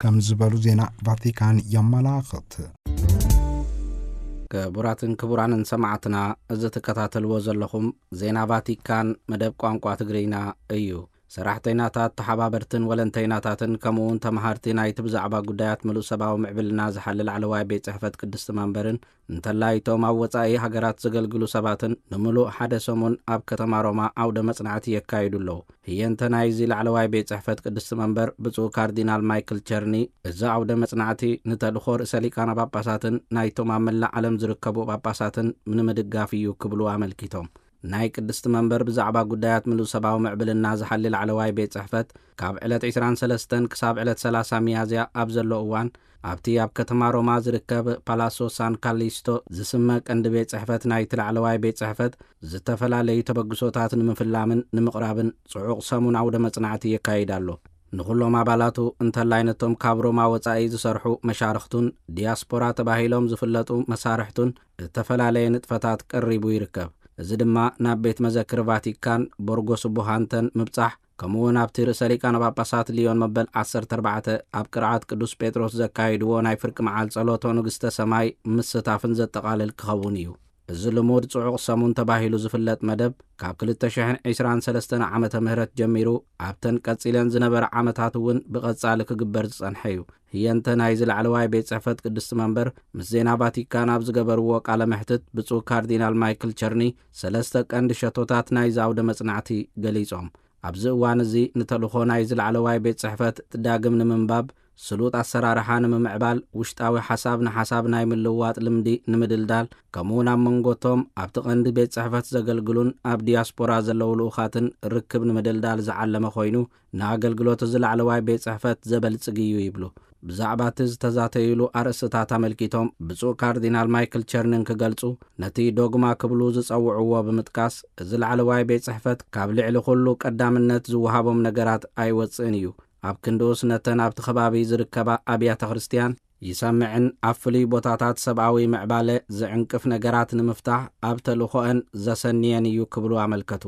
ከም ዝበሉ ዜና ቫቲካን የመላኽት። ክቡራትን ክቡራንን ሰማዕትና፣ እዚ ትከታተልዎ ዘለኹም ዜና ቫቲካን መደብ ቋንቋ ትግርኛ እዩ። ሰራሕተይናታት፣ ተሓባበርትን ወለንተይናታትን ከምኡ እውን ተመሃርቲ ናይቲ ብዛዕባ ጉዳያት ምሉእ ሰብኣዊ ምዕብልና ዝሓሊ ላዕለዋይ ቤት ጽሕፈት ቅድስቲ መንበርን እንተላይ እቶም ኣብ ወጻኢ ሃገራት ዘገልግሉ ሰባትን ንምሉእ ሓደ ሰሙን ኣብ ከተማ ሮማ ዓውደ መጽናዕቲ የካይዱ ኣለዉ። ህየንተ ናይዚ ላዕለዋይ ቤት ጽሕፈት ቅድስቲ መንበር ብፁዕ ካርዲናል ማይክል ቸርኒ፣ እዚ ዓውደ መጽናዕቲ ንተልእኾ ርእሰ ሊቃነ ጳጳሳትን ናይቶም ኣብ መላእ ዓለም ዝርከቡ ጳጳሳትን ንምድጋፍ እዩ ክብሉ ኣመልኪቶም። ናይ ቅድስቲ መንበር ብዛዕባ ጉዳያት ምሉእ ሰብኣዊ ምዕብልና ዝሓሊ ላዕለዋይ ቤት ጽሕፈት ካብ ዕለት ዕስራን ሰለስተን ክሳብ ዕለት ሰላሳ ሚያዝያ ኣብ ዘሎ እዋን ኣብቲ ኣብ ከተማ ሮማ ዝርከብ ፓላሶ ሳን ካሊስቶ ዝስመ ቀንዲ ቤት ጽሕፈት ናይቲ ላዕለዋይ ቤት ጽሕፈት ዝተፈላለዩ ተበግሶታት ንምፍላምን ንምቕራብን ጽዑቕ ሰሙን ዓውደ መጽናዕቲ የካይድ ኣሎ። ንኹሎም ኣባላቱ እንተላይ ነቶም ካብ ሮማ ወጻኢ ዝሰርሑ መሻርኽቱን ዲያስፖራ ተባሂሎም ዝፍለጡ መሳርሕቱን እተፈላለየ ንጥፈታት ቀሪቡ ይርከብ። እዚ ድማ ናብ ቤት መዘክር ቫቲካን ቦርጎ ስቡሃንተን ምብጻሕ፣ ከምኡ እውን ኣብቲ ርእሰ ሊቃነ ጳጳሳት ሊዮን መበል ዓሰርተ ኣርባዕተ ኣብ ቅርዓት ቅዱስ ጴጥሮስ ዘካየድዎ ናይ ፍርቂ መዓል ጸሎቶ ንግስተ ሰማይ ምስታፍን ዘጠቓልል ክኸውን እዩ። እዚ ልሙድ ጽዑቕ ሰሙን ተባሂሉ ዝፍለጥ መደብ ካብ ክልተ ሽሕን ዕስራን ሰለስተን ዓመተ ምህረት ጀሚሩ ኣብተን ቀጺለን ዝነበረ ዓመታት እውን ብቐጻሊ ክግበር ዝጸንሐ እዩ። ህየንተ ናይዚ ላዕለዋይ ቤት ጽሕፈት ቅድስቲ መንበር ምስ ዜና ቫቲካን ኣብ ዝገበርዎ ቃለ መሕትት ብፁዕ ካርዲናል ማይክል ቸርኒ ሰለስተ ቀንዲ ሸቶታት ናይዚ ዓውደ መጽናዕቲ ገሊጾም። ኣብዚ እዋን እዚ ንተልእኾ ናይዚ ላዕለዋይ ቤት ጽሕፈት ዳግም ንምንባብ፣ ስሉጥ ኣሰራርሓ ንምምዕባል፣ ውሽጣዊ ሓሳብ ንሓሳብ ናይ ምልውዋጥ ልምዲ ንምድልዳል፣ ከምኡውን ኣብ መንጎቶም ኣብቲ ቀንዲ ቤት ጽሕፈት ዘገልግሉን ኣብ ዲያስፖራ ዘለዉ ልኡኻትን ርክብ ንምድልዳል ዝዓለመ ኮይኑ፣ ንኣገልግሎት እዚ ላዕለዋይ ቤት ጽሕፈት ዘበልጽግ እዩ ይብሉ። ብዛዕባ እቲ ዝተዛተዩሉ ኣርእስትታት ኣመልኪቶም ብፁዕ ካርዲናል ማይክል ቸርኒ እንክገልጹ፣ ነቲ ዶግማ ክብሉ ዝጸውዕዎ ብምጥቃስ፣ እዚ ላዕለዋይ ቤት ጽሕፈት ካብ ልዕሊ ኩሉ ቀዳምነት ዝወሃቦም ነገራት ኣይወጽእን እዩ። ኣብ ክንድኡስ ነተን ኣብቲ ከባቢ ዝርከባ ኣብያተ ክርስቲያን ይሰምዕን ኣብ ፍሉይ ቦታታት ሰብኣዊ ምዕባለ ዝዕንቅፍ ነገራት ንምፍታሕ ኣብ ተልእኾአን ዘሰንየን እዩ ክብሉ ኣመልከቱ።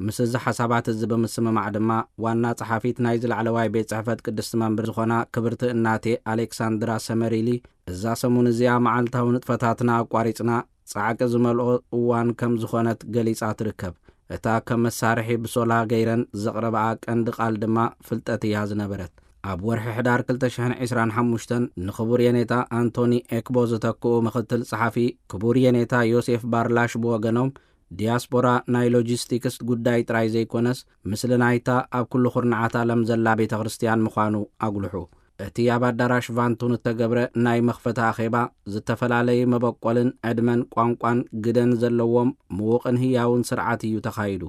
ምስ እዚ ሓሳባት እዚ ብምስምማዕ ድማ ዋና ጸሓፊት ናይዚ ላዕለዋይ ቤት ጽሕፈት ቅድስቲ መንበር ዝኾና ክብርቲ እናቴ ኣሌክሳንድራ ሰመሪሊ፣ እዛ ሰሙን እዚኣ መዓልታዊ ንጥፈታትና ኣቋሪጽና ጻዕቂ ዝመልኦ እዋን ከም ዝኾነት ገሊጻ ትርከብ። እታ ከም መሳርሒ ብሶላ ገይረን ዘቕረባኣ ቀንዲ ቃል ድማ ፍልጠት እያ ዝነበረት። ኣብ ወርሒ ሕዳር ክልተ ሽሕን ዕስራን ሓሙሽተን ንክቡር የኔታ ኣንቶኒ ኤክቦ ዝተክኡ ምኽትል ጸሓፊ ክቡር የኔታ ዮሴፍ ባርላሽ ብወገኖም፣ ዲያስፖራ ናይ ሎጂስቲክስ ጉዳይ ጥራይ ዘይኮነስ፣ ምስሊ ናይታ ኣብ ኩሉ ኩርናዓት ዓለም ዘላ ቤተ ክርስቲያን ምዃኑ ኣጉልሑ። እቲ ኣብ ኣዳራሽ ቫንቱን እተገብረ ናይ መኽፈቲ ኣኼባ፣ ዝተፈላለዩ መበቆልን ዕድመን ቋንቋን ግደን ዘለዎም ምዉቕን ህያውን ስርዓት እዩ ተኻይዱ።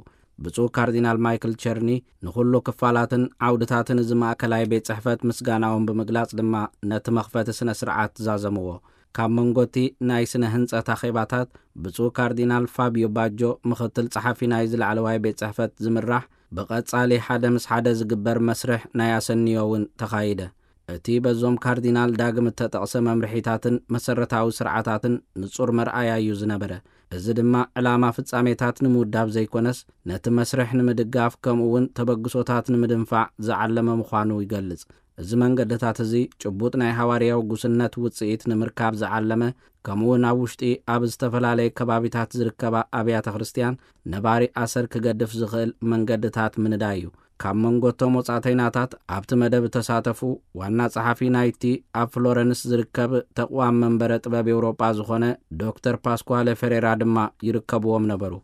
ብፁዕ ካርዲናል ማይክል ቸርኒ ንኹሉ ክፋላትን ዓውድታትን እዚ ማእከላይ ቤት ጽሕፈት ምስጋናኦም ብምግላጽ ድማ ነቲ መኽፈቲ ስነ ስርዓት ዛዘምዎ። ካብ መንጎ እቲ ናይ ስነ ህንጸት ኣኼባታት፣ ብፁዕ ካርዲናል ፋቢዮ ባጆ፣ ምኽትል ጸሓፊ ናይዚ ላዕለዋይ ቤት ጽሕፈት ዝምራሕ፣ ብቐጻሊ ሓደ ምስ ሓደ ዝግበር መስርሕ ናይ ኣሰንዮ እውን ተኻይደ። እቲ በዞም ካርዲናል ዳግም እተጠቕሰ መምርሒታትን መሰረታዊ ስርዓታትን ንጹር መርኣያ እዩ ዝነበረ። እዚ ድማ ዕላማ ፍጻሜታት ንምውዳብ ዘይኮነስ፣ ነቲ መስርሕ ንምድጋፍ ከምኡ እውን ተበግሶታት ንምድንፋዕ ዝዓለመ ምዃኑ ይገልጽ። እዚ መንገድታት እዚ ጭቡጥ ናይ ሃዋርያዊ ጉስነት ውጽኢት ንምርካብ ዝዓለመ፣ ከምኡ እውን ኣብ ውሽጢ ኣብ ዝተፈላለየ ከባቢታት ዝርከባ ኣብያተ ክርስቲያን ነባሪ ኣሰር ክገድፍ ዝኽእል መንገድታት ምንዳይ እዩ። ካብ መንጎ እቶም ወጻእተይናታት ኣብቲ መደብ እተሳተፉ፣ ዋና ጸሓፊ ናይቲ ኣብ ፍሎረንስ ዝርከብ ተቕዋም መንበረ ጥበብ ኤውሮጳ ዝኾነ ዶክተር ፓስኳለ ፈሬራ ድማ ይርከብዎም ነበሩ።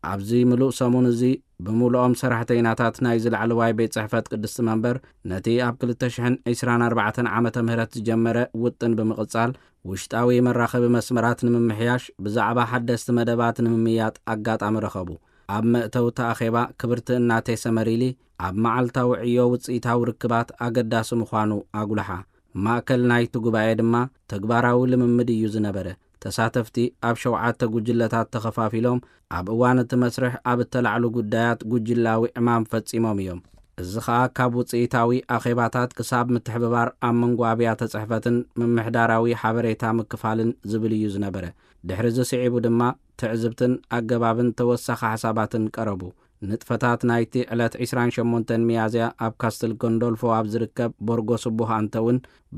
ኣብዚ ምሉእ ሰሙን እዚ ብምሉኦም ሰራሕተይናታት ናይዚ ላዕለዋይ ቤት ጽሕፈት ቅድስቲ መንበር ነቲ ኣብ ክልተ ሽሕን ዕስራን ኣርባዕተን ዓመተ ምህረት ዝጀመረ ውጥን ብምቕጻል፣ ውሽጣዊ መራኸቢ መስመራት ንምምሕያሽ፣ ብዛዕባ ሓደስቲ መደባት ንምምይያጥ ኣጋጣሚ ረኸቡ። ኣብ መእተውቲ ኣኼባ ክብርቲ እናቴ ሰመሪሊ ኣብ መዓልታዊ ዕዮ ውጽኢታዊ ርክባት ኣገዳሲ ምዃኑ ኣጉልሓ። ማእከል ናይቲ ጉባኤ ድማ ተግባራዊ ልምምድ እዩ ዝነበረ። ተሳተፍቲ ኣብ ሸውዓተ ጉጅለታት ተኸፋፊሎም ኣብ እዋን እቲ መስርሕ ኣብ እተላዕሉ ጉዳያት ጉጅላዊ ዕማም ፈጺሞም እዮም። እዚ ኸኣ ካብ ውጽኢታዊ ኣኼባታት ክሳብ ምትሕብባር ኣብ መንጎ ኣብያተ ጽሕፈትን ምምሕዳራዊ ሓበሬታ ምክፋልን ዝብል እዩ ዝነበረ። ድሕሪ እዚ ስዒቡ ድማ ትዕዝብትን ኣገባብን ተወሳኺ ሓሳባትን ቀረቡ። ንጥፈታት ናይቲ ዕለት ዕስራን ሸሞንተን ሚያዝያ ኣብ ካስትል ጎንዶልፎ ኣብ ዝርከብ ቦርጎ ስቡህ ኣንተ እውን